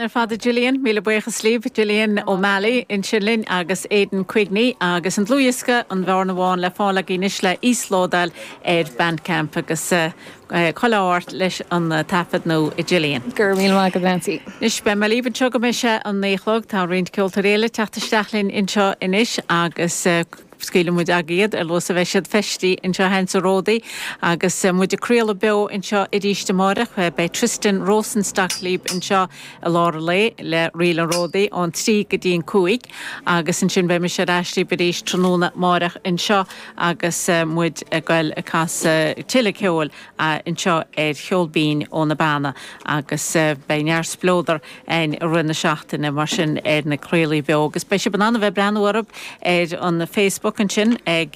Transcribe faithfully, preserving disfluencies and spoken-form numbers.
Ar fad Gillian, míle buíochas libh Gillian O'Malley ansin linn agus Aidan Quigney agus an dlúthdhiosca an Bhearna Bhán le fáil anois le íoslódáil ar Bandcamp agus uh, choláirt leis an taifead nó i Gillian. Gur mí go Nancy. Anois beidh mé libh anseo go mbeidh sé an naoi a chlog tá roinnt ceoltóirí eile teacht isteach linn anseo anois agus uh, scaoilfidh muid agaibh iad ar luas a bheidh siad feistithe anseo againn sa Ródaí agus uh, muid ag craoladh beo anseo arís amárach beidh Tristan Rosenstock libh anseo i lár an lae le Ríl an Ródaí ón trí go dtí an cúig agus ansin beidh mise ar ais libh arís tráthnóna amárach anseo agus uh, muid ag goil ag casadh tuilleadh ceoil uh, anseo ar Cheol Binn ó na Beanna agus uh, beidh neart spleodar ann i rith na seachtaine mar sin ar na craoltaí beo agus beidh sibh in ann a bheith breathnú orthu ar an Facebook ansin ag